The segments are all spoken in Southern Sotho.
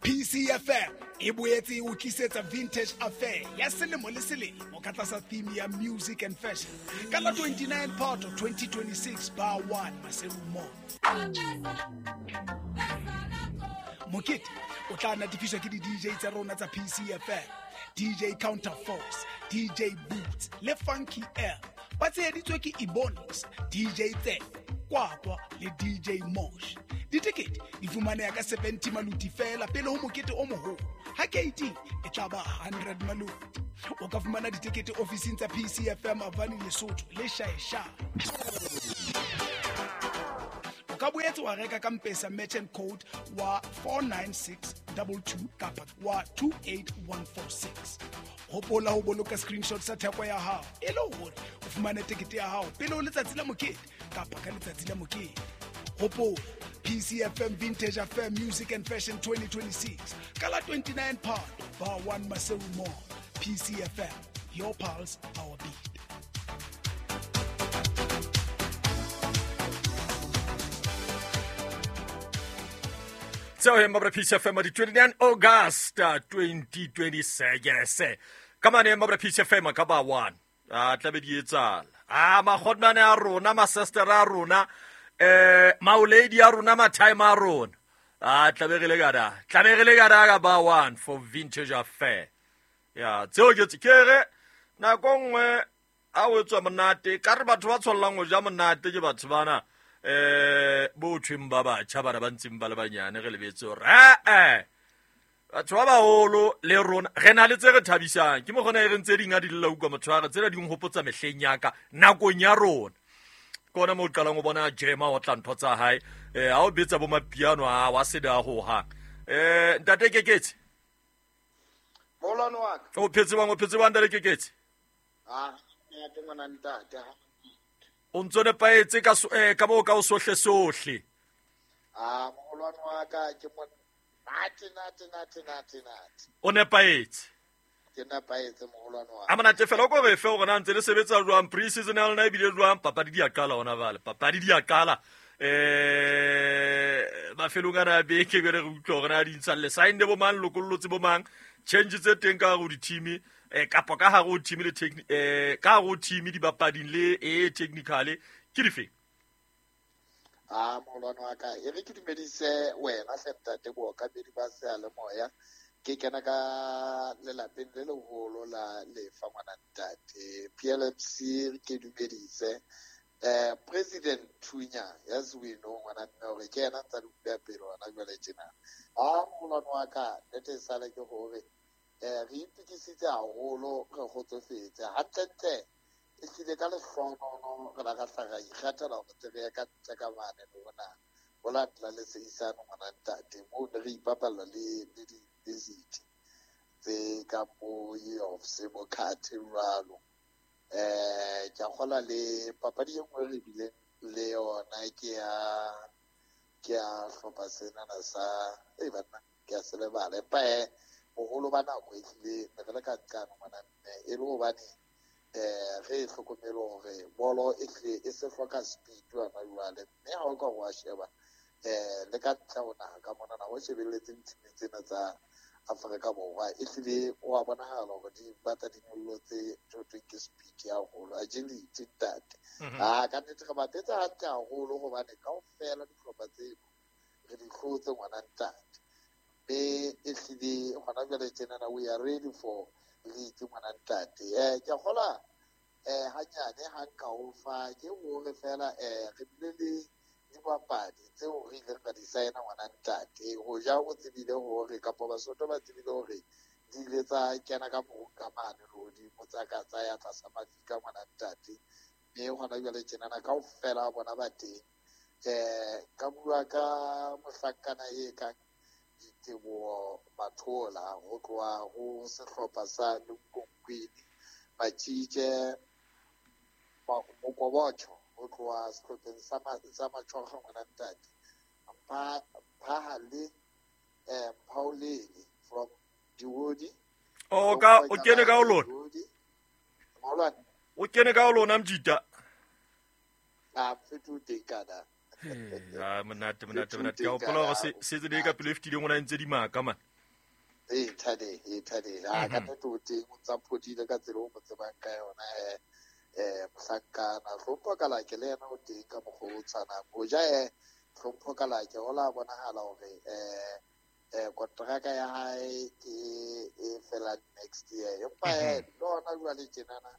PCFM e boetse e o tlisetsa Vintage Affair ya selemo le selemo ka tlasa theme ya Music and Fashion ka la 29 Phato 2026 bar 1 Maseru Mall. Mokete o tla natefiswa ke di-DJ tsa rona tsa PCFM, DJ Counterforce, DJ Boots le Funky L. Ba tsheheditswe ke Ebonics, DJ Tse, Kwakwa le DJ Mosh. Ditekete di fumaneha ka 70 maluti fela pele ho mokete o moholo. Ha keiting e tla ba 100 maluti. O ka fumana ditekete ofising tsa PCFM Avani Lesotho le Shaeshae. O ka boetse wa reka ka Mpesa merchant code wa 49622 kapa wa 28146. Hopola ho boloka screenshot sa theko ya hao e le hore o fumane tekete ya hao pele ho letsatsi la mokete kapa ka letsatsi la mokete. Hopola PCFM Vintage Affair Music and Fashion 2026 ka la 29 Phato bar 1 Maseru Mall. PCFM, your pulse, our beat. Tseo he mabra PCFM di 29 August 2026 ka mane mabra PCFM ka ba 1 a tlabe di etsala a magodmane a rona ma-sister a rona maoledi a rona ma-time a rona a tlabe re le kada tlabe re le kada ka ba 1 for Vintage Affair. Ya tseo ke ke re nako nngwe a o tswa monate ka re batho ba tshollang ho ja monate ke batho bana bo thweng ba batjha bana ba ntseng ba le banyane re lebetse hore batho ba baholo le rona re na le tse re thabisang ke mokgona e re ntse ding a di lela utlwa motho wa re tsena di nhopotsa mehleng ya ka nakong ya rona ke ona moo o qalang o bona jema o tla ntho tsa hae ha o betsa bo mapiano a wa se da ho hang ntate Keketse Molwane wa ka o phetse bang o phetse bang ntate Keketse ah ntate ngwana ntate o ntso nepaetse ka ka moo ka o sohle sohle ah molwane wa ka ke mo nate nate nate nate nate o nepaetse ke nepaetse moholwane wa a monate fela o ko re fe hore na ntse le sebetsa jwang pre-season ya lona ebile jwang papadi di a qala hona jwale papadi di a qala mafelong ana a beke jwale re utlwa hore na di ntshang le signne bo mang lokollotse bo mang change tse teng ka hare ho di-team kapa ka hare ho team le ka hare ho team dibapading le e technically ke difeng? A moholwane wa ka e re ke dumedise wena hle ntate bookamedi ba seyalemoya ke kena ka lelapeng le leholo la lefa ngwana ntate PLMC ke dumedise President Thunya as we know ngwana mme hore ke yena ntsa di utlwa pele hona jwale tjena. A moholwane wa ka nnete e sale ke hore re itukisitse haholo re kgotsofetse hantlentle e hlile ka lehlohonono re la ra hla ra ikgethela hore tle re ye ka ntle ka mane le hona ho latela le seisano ngwana ntate moo ne re ipapalla le di-university tse ka bo UFC bo Khathe jwalo. Ke a kgolwa le papadi e nngwe re bileng le yona ke ya hlopha senana sa e banna ke a se lebala empa boholo ba nako e hlile ne re le ka nqano ngwana mme e le hobane re e hlokomele hore bolo e hlile e se hloka speed hona jwale mme ha o ka wa sheba le ka ntle ho naha ka monana ho shebelletseng team tsena tsa Afrika Borwa e hlile wa bonahala hore di batla di nyollotse ntho e thweng ke speed haholo agility ntate. A ka nnete re bapetse hantle haholo hobane kaofela dihlopha tseno re di hlotse ngwana ntate mme e hlile hona jwale tjenana we are ready for league ngwana ntate. Ke a kgolwa hanyane ha nka o fa ke hore fela re bile le dibapadi tseo re ileng ra di saena ngwana ntate ho ja o tsebile hore kapa Basotho ba tsebile hore di ile tsa kena ka morung ka mane lehodimo tsa ka tsa ya tlasa mafika ngwana ntate mme hona jwale tjenana kaofela bona ba teng. Ka bua ka mohlankana e kang Diteboho Mathola ho tloha ho sehlopha sa Lunkonkwini, Matjitje Mokobotjho ho tloha sehlopheng sa Matjhokgo ngwana ntate, Mphahale Mphaolele from Diwodi. O ka o kene ka ho lona. Moholwane. O kene ka ho lona Mjita. A mfethu teng kana. Ah monate monate monate. Ka hopola hore se se le ka pelo e fetileng o na ntse di maka man. Ee, Thadeng, ee, Thadeng. A ka nnete o teng, o ntsa phodile ka tsela o mo tsebang ka yona. Mohlankana Hlompho Kalake le yena o teng ka mokgwa o tshwanang. O ja Hlompho Kalake o la bonahala hore kontraka ya hae ke e fela next year. Empa le hona jwale tjenana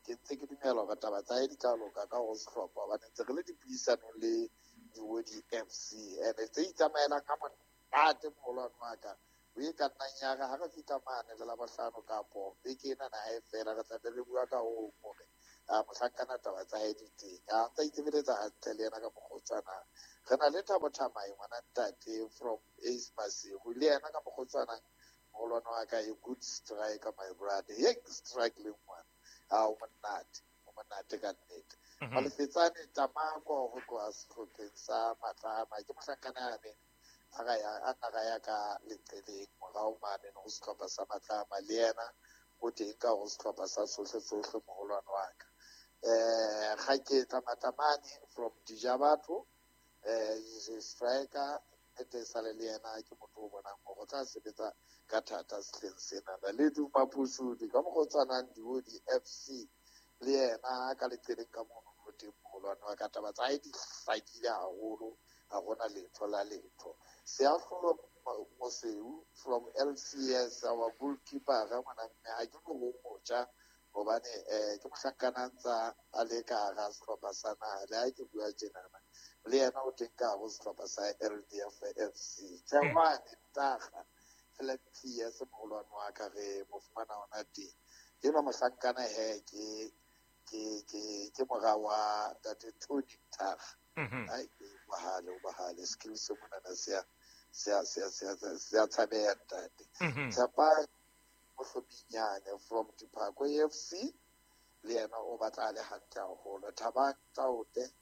ke ntse ke dumela hore taba tsa hae di tla loka ka ho sehlopha, hobane ntse re le dipuisanong le Diwodi FC. And tse itsamaelang ha monate moholwane wa ka. O e ka nnang ya re ha re fihla mane le Labohlano kapo beke ena na hae fela, re tla be re bua ka ho hore mohlankana taba tsa hae di teng. A ntsa itsebeletsa hantle le yena ka mokgwa o tshwanang. Re na le Thabo Thamai ngwana ntate from Ace Maseru, le yena ka mokgwa o tshwanang moholwane wa ka, a good striker my brother. Ye strike le ngwana. A o monate, o monate ka nnete. Malefetsane Tamako ho tloha sehlopheng sa Matlama, ke mohlankana yane a nna ya ka leqeleng morao mane ho sehlopha sa Matlama, le yena o teng ka ho sehlopha sa Sohle Sohle moholwane wa ka. Kgaketla Matamane from Dijabatho, is a striker, nnete sale le yena ke motho o bonang hore o tla sebetsa ka thata sehleng sena. Le Duma Phusudi ka mokgwa o tshwanang Diwodi FC le yena ka leqeleng ka mono o teng moholwane wa ka. Taba tsa hae di hlakile haholo, ha hona letho la letho. Seahlolo Mosweu from LCS, our goalkeeper ga ngwana mme, ha ke no ho motjha hobane ke mohlankana ntsa a le ka hara sehlopha sa naha, le ha ke bua tjenana le yena o teng ka hare ho sehlopha sa LDF FC. Tjehwane Ntaga LMPS moholwane wa ka, re mo fumana hona teng. Enwa mohlankana he ke mora wa ntate Tony Ntaga. Ai, bahale, o bahale, skills monana se a tshabeha ntate. Tshepang Mohlominyane from Diphako FC, le yena o batla a le hantle haholo. Thabang Taote,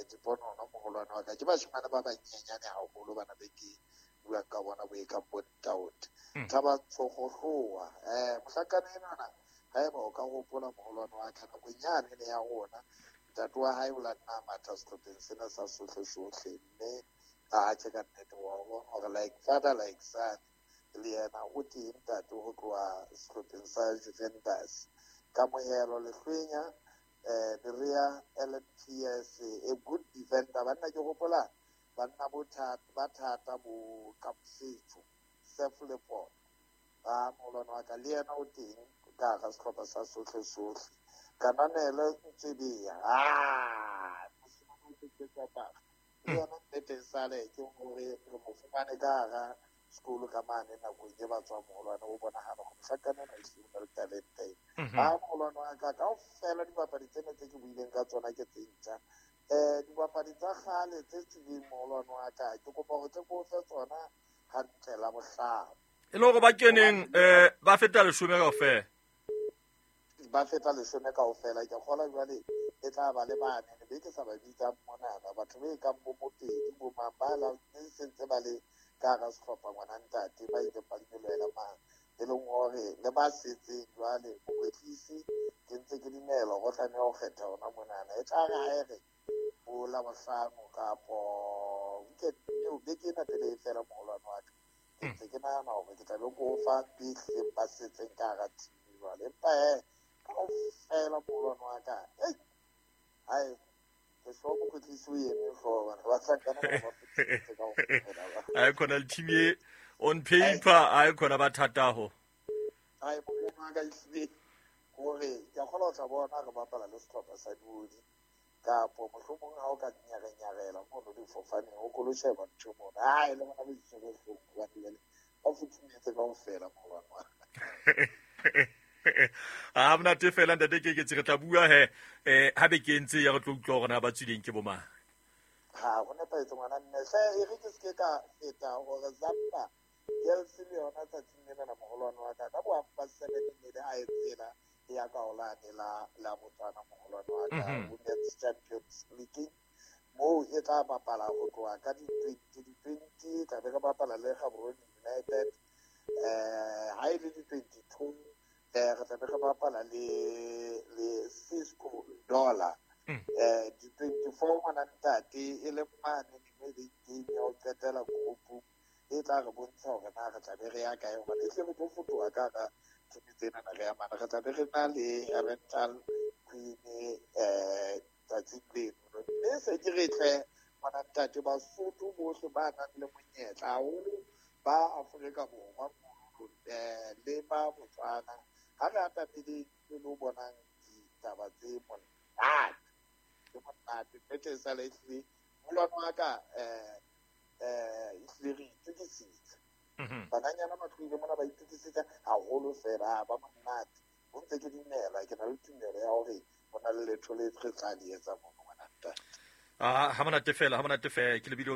Diponono moholwane wa ka, ke bashimane ba banyenyane haholo bana be ke buang ka bona bo e kang bo Ntaote. Thabang Tshogohloa, mohlankana enwana haeba o ka hopola moholwane wa ka, nakong yane ne ya rona ntate wa hae o la nna matha sehlopheng sena sa Sohle Sohle, mme a tjhe ka nnete wa bona hore like father like son, le yena o teng ntate ho tloha sehlopheng sa Juventus. Kamohelo Lehlwenya, Berea LMPS, a good defender. Banna ke hopola banna bo thata ba thata bo Kamosetso Sef Leport ba moholwane wa ka, le yena o teng ka hara sehlopha sa Sohle Sohle. Kananelo Ntsebeya, mosimane o tseketswa paka, le yena nnete sale ke hore re mo fumane ka hara sekolo ka mane nakong e ba tswa moholwane, o bonahala hore mohlankana ena ehlile o na le talente. Ha moholwane wa ka, kaofela dibapadi tsena tse ke buileng ka tsona ke tse ntjha. Dibapadi tsa kgale tse tswileng moholwane wa ka, ke kopa ho tle ko fe tsona hantle la bohlano. E le hore ba keneng ba feta 10 kaofela. Ba feta 10 kaofela. Ke kgola jwale e tla ba le bane, ne be ke sa ba bitsang monana, batho be kang bo Mopedi, bo mang ba la ne sentse ba le ka hara sehlopha ngwana ntate, ba ileng ba nyolohela mane, e leng hore le ba setseng jwale mokwetlisi ke ntse ke dumela hore o tlameha ho kgetha hona monana. E tla re ha e re bo Labohlano kapo weekend eo beke ena pele e fela moholwane wa ka, ke ntse ke nahana hore ke tla be ko fa behleng ba setseng ka hara team jwale. Empa he kaofela moholwane wa ka, hai ke hloka mokwetlisi o eme hlooho, bana ba hlankana ba ba kaofela ba. Ai khona le team e on paper, ai khona ba thata ho. Ai moholwane wa ka, ehlile hore ke a kgolwa ho tla bona re bapala le sehlopha sa Diodi, kapo mohlomong ha o ka nyarenyarela mono difofaneng o kolo sheba ntho mono, ai le bona ba itshwere hloohong hobane jwale ba futhumetse kaofela moholwane wa ka. Ha monate fela ntate Keketsi, re tla bua he ha be ke ntse ya re tlo utlwa hore na ba tswileng ke bo mang. Ha ho nepahetse ngwana mme, hle e re ke se ke ka feta hore Zamba Girls le yona tsatsing lena la moholwane wa ka, ka bo 7:30 ne le a e tsela e ya ka holane la Botswana moholwane wa ka, Women's Champions League moo e tla bapala ho tloha ka di-20 di-20, tla be re bapala le Gaborone United. Ha e le di-22 re tla be re bapala le Cisco Dollar. Di-24 ngwana ntate e le mane mme le game ya ho qetela group E tla re bontsha hore na re tla be re ya kae, hobane e tle re tlo fotoha ka hara team tsenana re ya mane. Re tla be re na le rental queen tsatsing leno. Mme se ke re tle ngwana ntate, Basotho bohle ba nang le monyetla, haholo ba Afrika Borwa mono le ba Botswana, ha re atameleng le lo bonang ditaba tse monate, tse monate. Nnete e sale ehlile molwano wa ka ehlile re itokisitse. Bananyana ba tlohile mona ba itokisitse haholo fela, ba monate. Ho ntse ke dumela, ke na le tumelo ya hore ho na le letho le re tla le etsa mono, ngwana ntate. Ah, ha monate fela, ha monate fela. Ke lebile.